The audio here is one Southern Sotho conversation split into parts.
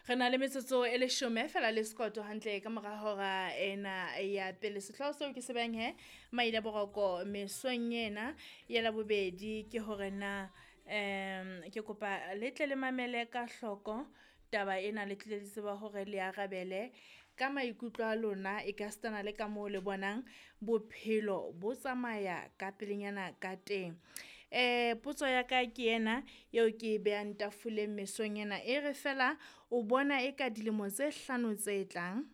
Re na le metsotso e leshome fela le sekoto hantle ka mora hora ena ya pele. Sehlooho seo ke se behang he maile boroko mesong ena ya Labobedi ke hore na ke kopa le tle le mamele ka hloko taba ena, le tle le tseba hore le arabele ka maikutlo a lona e ka sitana le ka moo le bonang bophelo bo tsamaya ka pelenyana ka teng. Potso ya ka ke ena eo ke e behang tafoleng mesong ena e re feela o bona eka dilemo tse hlano tse tlang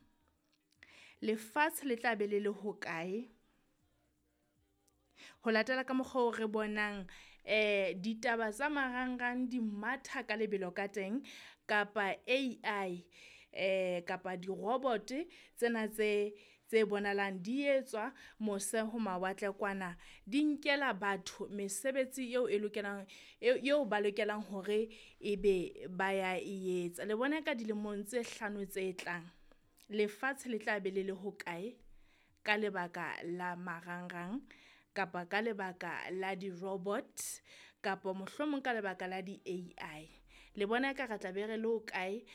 lefatshe le tla be le le hokae? Ho latela ka mokgwa oo re bonang ditaba tsa marangrang di matha ka lebelo ka teng kapa AI kapa di-robot tsena tse tse bonahalang di etswa mose ho mawatle kwana, di nkela batho mesebetsi eo e lokelang eo ba lokelang hore ebe ba ya e etsa. Le bona ka dilemong tse hlano tse tlang lefatshe le tla be le le hokae ka lebaka la marangrang kapa ka lebaka la di-robot kapa mohlomong ka lebaka la di-AI? Le bona eka re tla be re le hokae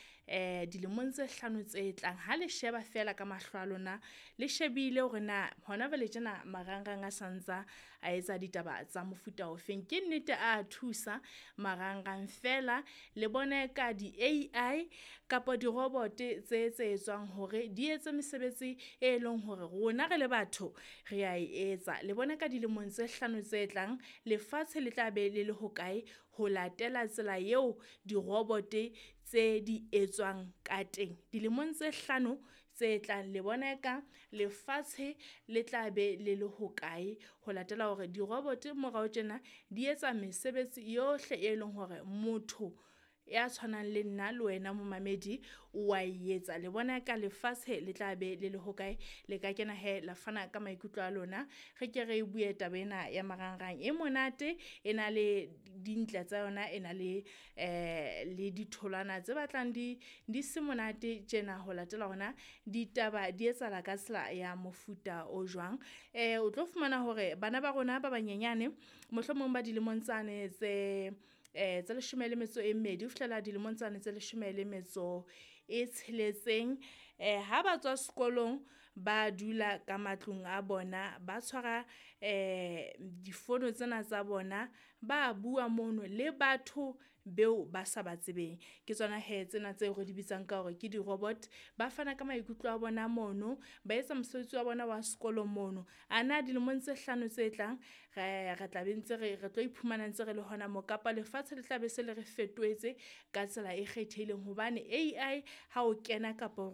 dilemong tse hlano tse tlang? Ha le sheba fela ka mahlo a lona, le shebile hore na hona jwale tjena marangrang a santsa a etsa ditaba tsa mofuta ofeng. Ke nnete a thusa marangrang fela le bona eka di-AI kapa di-robot tse tse etswang hore di etse mesebetsi e leng hore rona re le batho re a e etsa. Le bona ka dilemong tse hlano tse tlang lefatshe le tla be le le hokae ho latela tsela eo di-robot tse di etswang ka teng? Dilemong tse hlano tse tlang le bona eka lefatshe le tla be le le hokae ho latela hore di-robot morao tjena di etsa mesebetsi yohle, e leng hore motho ya tshwanang le nna le wena momamedi wa e etsa. Le bona eka lefatshe le tla be le le hokae? Le ka kena hee la fana ka maikutlo a lona. Re ke re bue taba ena ya marangrang e monate, e na le dintle tsa yona, e na le le ditholwana tse batlang di di se monate tjena ho latela hore na ditaba di etsahala ka tsela ya mofuta o jwang. O tlo fumana hore bana ba rona ba banyenyane mohlomong ba dilemong tsane tse tse leshome le metso e mmedi ho fihlela dilemong tsane tse leshome le metso e tsheletseng. Ha ba tswa sekolong, ba dula ka matlung a bona, ba tshwara difono tsena tsa bona, ba bua mono le batho beo ba sa ba tsebeng. Ke tsona hee tsena tseo re di bitsang ka hore ke di-robot. Ba fana ka maikutlo a bona mono, ba etsa mosebetsi wa bona wa sekolo mono. A na dilemong tse hlano tse tlang re tla be ntse re tlo iphumana ntse re le hona moo kapa lefatshe le tla be se le re fetohetse ka tsela e kgethehileng hobane AI ha o kena kapa